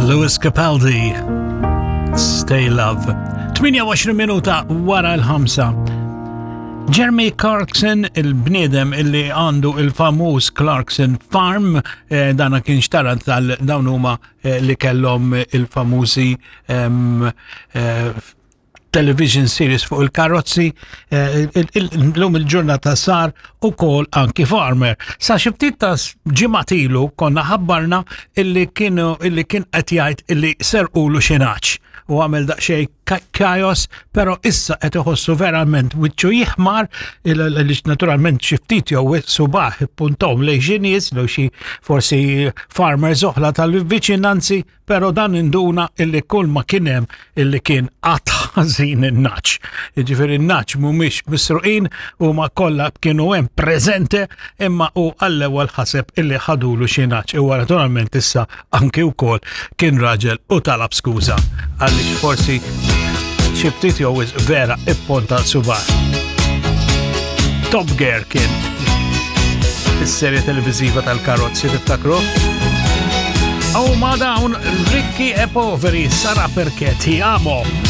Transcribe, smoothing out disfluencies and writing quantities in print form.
Lewis Capaldi, Stay Love. 28 minuta wara l-ħamsa. Jeremy Clarkson, il-bniedem illi għandu il-famuż Clarkson Farm, eh, dana kien xtara tal dawn huma eh, li kellhom il-famużi eh, television series fuq il-karozzi, eh, l-lum il-ġurnata sar u kol anki farmer. Sa xiftit ta' ġimatilu konna ħabbarna illi kienu illi kien qed jgħid illi serqulu xi naċ u għamel daqsxejn kajos, pero issa qed iħossu verament wiċċu jiħmar li naturalment xi ftit jew subaħ ippuntom lejn xi nies jew xi forsi farmers oħra tal-viċinanzi Pero dan induna illi kull ma kien hemm illi kien qatt ħażin in-naċ. Jiġifieri n-naċ mhumiex misruqin huma kollha kienu hemm preżente imma hu għall-ewwel ħaseb illi ħadulu xi naċ. Huwa naturalment issa anki wkoll kien raġel u talab skuża għaliex forsi xi ftit jew vera ipponta subar. Top Gear kien is-serje televiżiva tal-karozzi tiftakru? U ma dawn rikki e poveri sarà perché ti amo.